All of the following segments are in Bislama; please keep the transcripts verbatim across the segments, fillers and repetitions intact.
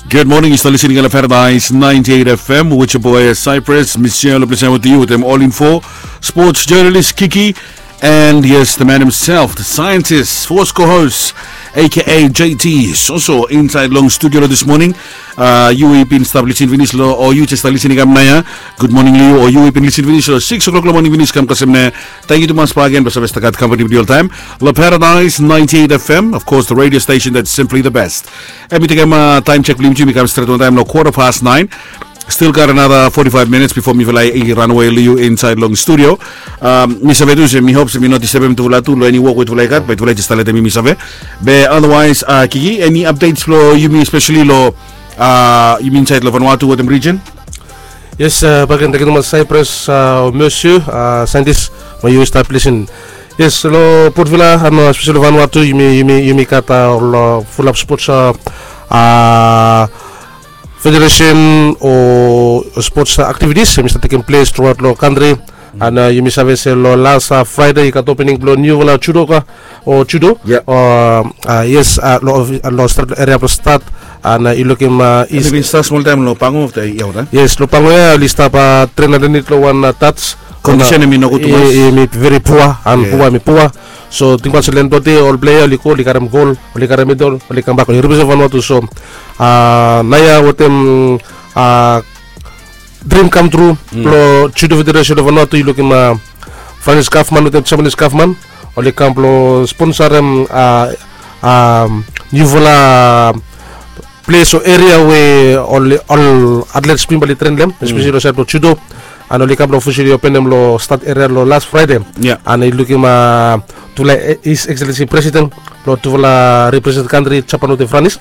Good morning, yu stap listening long Paradise ninety-eight F M with your boy Cyprus. Michelle, pleasure with you with them all info. Sports journalist Kiki. And yes, the man himself, the scientist, force co-host, A K A J T, is also inside long studio this morning. Uh, yu i bin stap listening finish lo, o yu just stap listening kam nao ya. Good morning, Leo. O yu i bin listening finish lo six o'clock lo morning finish kam kasem nao. Thank you tumas bak again, basa besta kat company with you all time. Lo Paradise ninety-eight F M, of course, the radio station that's simply the best. Em i tekem uh, time check blo yumi kam stret on time lo quarter past nine. Still got another forty-five minutes before mifala i run away lo yu inside long studio. Um, mi save tu se mi hope se mi no disturbem tufala tu lo eni wok we tufala i gat, be tufala i just stap letem yumi save. Be otherwise, uh, Kiki, any updates lo yumi, especially lo uh, yumi inside lo Vanuatu wetem region? Yes, uh, baken, thank you tumas Cyprus, uh, Mercier, uh, scientist, mo yu stap listen. Yes, lo Port Vila, ano especially lo Vanuatu, yumi yumi yumi gat uh, ol uh, fulap sports uh, uh, federation o sports activities em i stap tekem ples truaot lo kantri. And uh, yumi save se lo las uh, Friday i gat opening blo niufala judoka o judo. Yeah. Uh, uh, yes, uh, lo, lo start eria blo start. And uh, i lukim uh, i bin start smol taim lo Pango of the year, right? Yes, lo Pango ya oli stap uh, train underneath lo wan uh, touch. Condition em i nogut tumas. Em i very poor and poor em i poor. So tingbaot se len blong dei ol player oli go oli karem gol, oli karem medal, oli kambak oli represent Vanuatu. So uh, naoia wetem uh, dream come true blo judo federation of Vanuatu, i lukim uh, Francis Kaufman wetem Japanese Kaufman oli kam blo sponsorem uh, um, niufala ples o eria we ol ol athletes bin bali train dem, especially lo side blo judo. And oli kam blo officially openem lo start eria lo last Friday. Yeah. And i lukim uh, tufala His Excellency President blo tufala represent country Japan wetem Franis.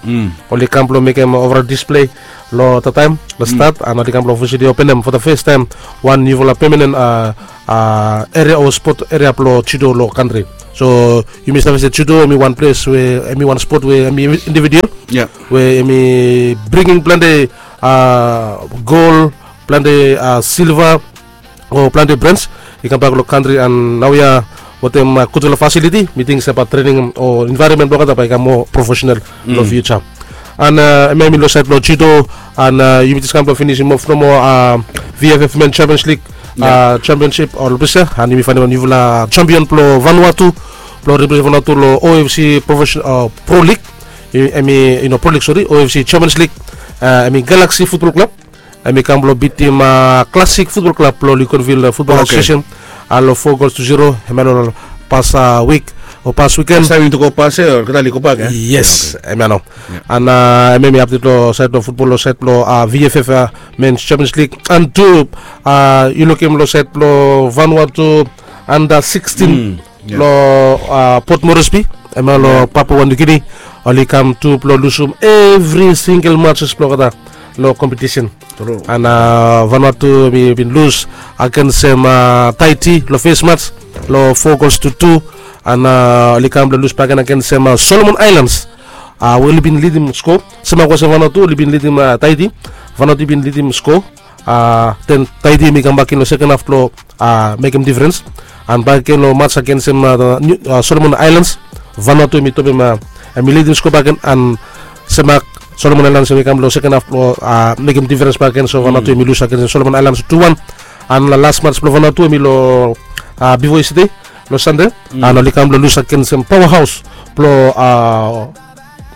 Oli kam blo mekem overall display lo the time lo start, and oli kam blo officially openem for the first time wan niufala permanent uh, uh, eria o sport eria blo judo lo kantri. So yumi save se judo em i wan ples we em i wan sport we em i individual. Yeah. We em i bringing plante uh, gol, plante uh, silver o plante bronze i kambak lo kantri. And naoia wetem uh, gudfala facility, mi ting se bae training o environment blo olgeta bae i kam moa professional lo future. And uh, em ya em i lo side blo judo. And uh, yumi just kam blo finisim of nomo uh, V F F Men Champions League uh, championship o lupisa, and yumi faenem wan niufala champion blo Vanuatu blo represent Vanuatu lo O F C professional uh, pro league. Em i, you know, pro league, sorry, O F C Champions League. Uh, em i Galaxy Football Club. Em i kam blo bitim uh, Classic Football Club blo Luganville uh, Football Association. Uh, lo four goals to zero. Em ya lo pas uh, week o pas weekend. Taim yumi tu go pas ya, olgeta oli go bak ya. Yes, em ya no. And uh, em ya em i update lo side blo football lo side blo uh, V F F uh, Men's Champions League. And tu uh, i lukim lo side blo Vanuatu under sixteen lo uh, Port Moresby, em ya lo Papua New Guinea. Oli kam tu blo lusum every single matches blo olgeta lo competition. And uh, Vanuatu mi bin lus agensem uh, Tahiti lo first match lo four goals to two. And uh, oli kam blo lus bakegen agensem uh, Solomon Islands. Uh, we oli bin lidim score. Semak olsem Vanuatu oli bin lidim uh, Tahiti. Vanuatu i bin lidim score. Uh, then Tahiti em i kambak in lo second half blo uh, mekem difference. And bakegen lo match agensem uh, Solomon Islands, Vanuatu em i topem uh, em i lidim score bakegen, and semak Solomon Islands em i kam lo second half blo uh, mekem difference bakegen. So Vanuatu em i lus agensem Solomon Islands two one. And lo last match blo Vanuatu em i lo uh, bifo yestade, lo Sande. And oli kam blo lus agensem powerhouse blo uh,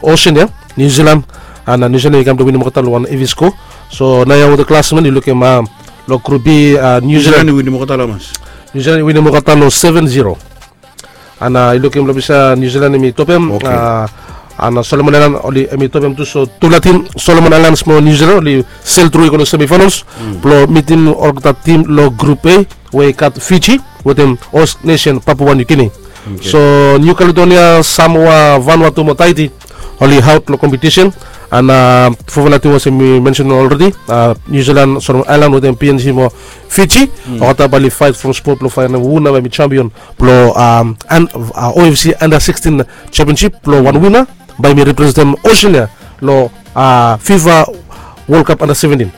Oceania, New Zealand. And uh, New Zealand i kam blo winim olgeta lo wan hevi score. So naoia wetem klasmen i lukim uh, lo Group B uh, New Zealand i winim olgeta lo hamas? New Zealand i winim olgeta lo seven zero. And uh, i lukim lo bisa New Zealand em i topem. And uh, Solomon Island oli em i topem tu. So tufala tim Solomon Islands mo New Zealand oli sel tru i go lo semifinals blo mitim olgeta tim lo Group A we i gat Fiji wetem host nation Papua New Guinea. So New Caledonia, Samoa, Vanuatu mo Tahiti oli out lo competition. And uh, fofala tim olsem mi mention already, uh, New Zealand, Solomon Island wetem P N G mo Fiji. Olgeta bae oli fight from spot blo faenem hu nao bae i champion blo um, and, uh, O F C under sixteen championship blo wan winner bae i representem Oceania lo uh, FIFA World Cup under seventeen.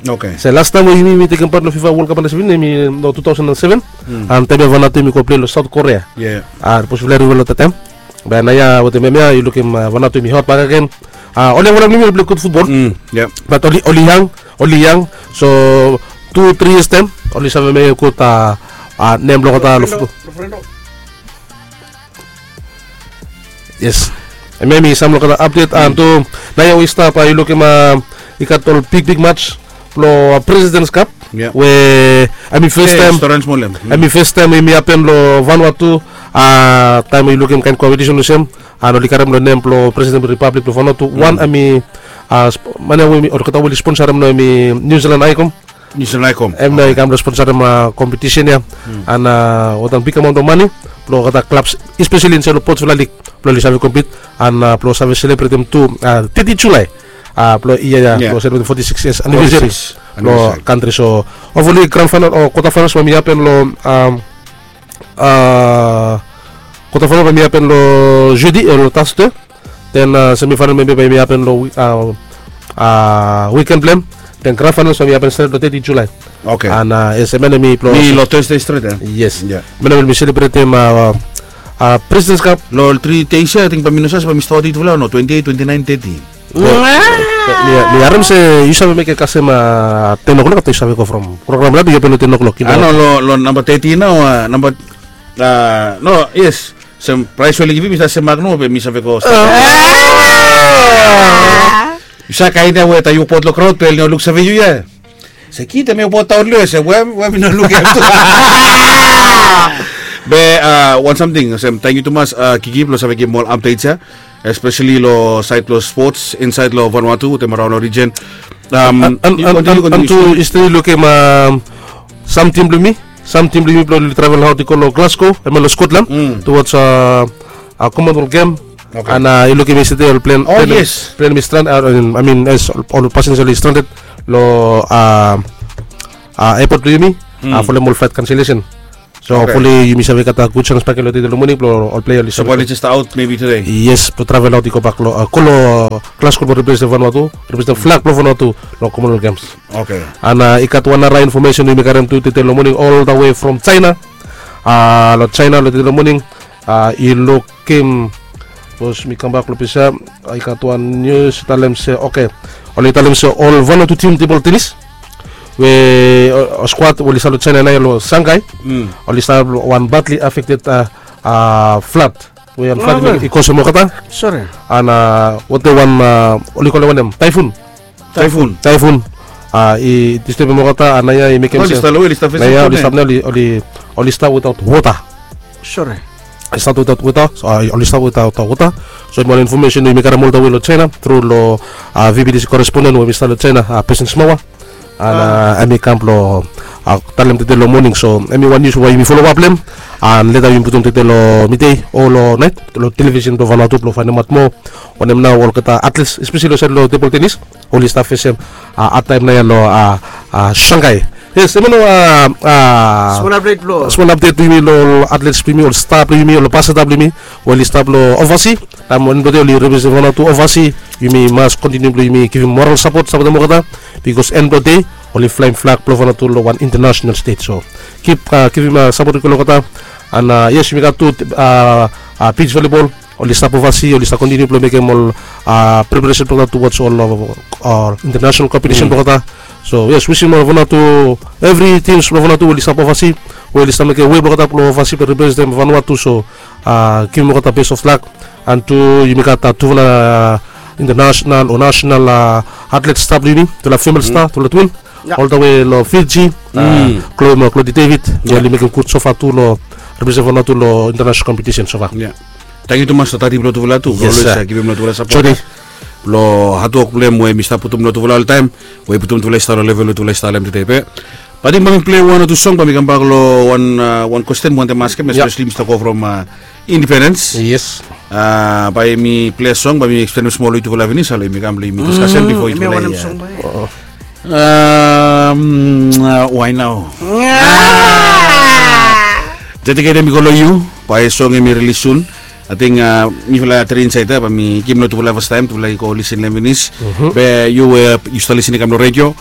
Okay. So last time we yumi tekem part lo FIFA World Cup under seventeen em i lo two thousand and seven. And taim ya Vanuatu em i go play lo South Korea. Yeah. Uh, bikos we oli win lo that time. Be naoia wetem em ya i lukim uh, Vanuatu em i hot bakegen. Oli yangfala blong yumi oli pilai gud futbol. Bat oli yang, oli yang. So tu tri yias taem oli save mekem gud nem blong olgeta long futbol. Yes. Hemia hemi sam long olgeta apdet. An tu naoia we i stap, yu lukim i gat ol bigbig mats blong Presidents Cup we hemi fes taem, hemi fes taem hemi hapen long Vanuatu. Taem we yu lukim kaen kompetisen olsem, an oli karem long nem blong President blong Ripablik blong Vanuatu. Wan hemi man ya we olgeta we oli sponsarem nao hemi New Zealand Icom. Em nao i kam blong sponsarem kompetisen ya. An wetem big amaon blong mane blong olgeta klabs, espeseli insaed long Port Vila League blong oli save kompit an blong save selebretem tu teti Julae blong yia ya blong selebretem foti sikis yias anivesari blong kantri. So hopefully grand final o quarter finals bae hemi hapen long quarter final bae hemi hapen long jeudi o long Thursday. Then semifinal maybe bae hemi hapen long weekend blong hem. Then grand finals bae hemi hapen stret long teti Julae. An yes, hemia hemi blong mi long Thursday stret. Yes. Hemia hemi selebretem Presidents Cup. Long ol tri deis ya ating bae mi no save se bae mi stap wetem yutufala o no, twenty eight, twenty nine, thirty. Mi harem se yu save mekem kasem ten o'clock afta yu save go from program ya, yu open long ten o'clock. Ano long namba thirty nao, namba no, yes. Sem praes we oli givim mi stap sem mak no be mi save go stap. Yu save kaen ya we taem yu wokbaot long kraod be oli no luksave yu ya. Se kid hemia wokbaot daon long ya se we mi no luk ya tu. Be wan samting olsem, tangkiu tumas Kiki blong save givim ol apdets ya, espeseli long saed blong spots insaed long Vanuatu wetem araon long rijen. An tu yu stil lukim sam tim blong yumi, sam tim blong yumi blong oli travel aot i go long Glasgow, hemia long Scotland, towards Commonwealth Game. An yu lukim yestade oli plan, plan hemi strand, I mean ol pasenja oli stranded long airport blong yumi folem ol flight cancellation. So hopefully yumi save gat gud sans bakegen long tede long moning blong ol plea oli save. So oli jes aot maybe tede. Yes, blong travel aot i go bak long, go long Glasgow blong representem Vanuatu, representem flag blong Vanuatu long Commonwealth Games. An i gat wan nara infomesen we yumi karem tu tede long moning oltawe from China. Long China long tede long moning, i lukim, sapos mi kambak long ples ya, i gat wan nius talem se, oke, oli talem se ol Vanuatu tim tebol tenis we ol skwad we oli stap long China naoia long Shanghai, oli stap long wan badly affected flood we wan flood i kosem olgeta. An wetem wan, oli kolem wanem, taefun. Taefun. Taefun i distebem olgeta, an naoia i mekem se naoia oli stap nao, oli stap wetaot wota. Sore. I stap wetaot wota, oli stap wetaot wota. So hemi wan infomesen we yumi karem oltawe long China tru long VBTC koresponden we hemi stap long China, Pesen Smawa. An hemi kam blong talem tede long moning. So hemi wan nius we yumi folem ap long hem, an leta yumi putum tede long midei o long naet long televisen blong Vanuatu blong faenemaot moa wanem nao olgeta atlets, espeseli long saed long tebol tenis, oli stap fesem adtaem naoia long Shanghai. Yes, hemia nao smol apdet blong yumi long ol atlets blong yumi, ol sta blong yumi, ol ambasada blong yumi we oli stap long ovasi. Taem wanem blong dei oli representem Vanuatu ovasi, yumi mas kontiniu blong yumi givim moral sapot, sapotem olgeta, bikos en blong dei oli flaem flag blong Vanuatu long wan intanasenal stet. So kip givim sapot long olgeta. An yes, yumi gat tu beach volleyball, oli stap ovasi, oli stap kontiniu blong mekem ol preparesen blong olgeta towards ol intanasenal kompetisen blong olgeta. So yes, wisim ol Vanuatu, evri tims blong Vanuatu we oli stap ovasi, we oli stap mekem wei blong olgeta blong ovasi blong representem Vanuatu. So givim olgeta best of luck. An tu yumi gat tufala intanasenal o nasenal atlet sta blong yumi, tufala female sta, tufala twin, oltawe long Fiji, Chloe mo Claudie David, we oli mekem gud sofa tu long representem Vanuatu long intanasenal kompetisen sofa. Tangkiu tumas long tati blong tufala tu blong olwes givim long tufala sapot blong hadwok blong hem we hemi stap putum long tufala oltaem, we i putum tufala i stap long level we tufala i stap long hem tede. Be ating bae mi plei wan o tu song bae mi kambak long wan, wan kwesten mi wantem askem, espeseli mi stap go from Independens. Yes. Bae mi plei song, bae mi eksplenem smol long yutufala finis, long yumi kam long yumi diskasem bifo yutufala. Wae nao? Dediketem i go long yu. Bae song hemi rilis sun. Ating mifala tri insaed ya bae mi givim long tufala fastaem, tufala i go lisin long hem finis. Be yu we yu stap lisin i kam long redio,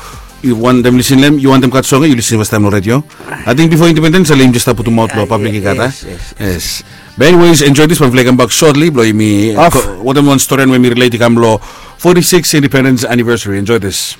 yu wantem lisin long hem, yu wantem gat song ya yu lisin fastaem long redio. Ating bifo Independens ale yumi jes stap putumaot long pablik i gat a. Yes. Be anyways, enjoy this, bae mifala i kambak shortly blong yumi wetem wan storian we hemi rilet i kam long forty-sixth independence anniversary. Enjoy this.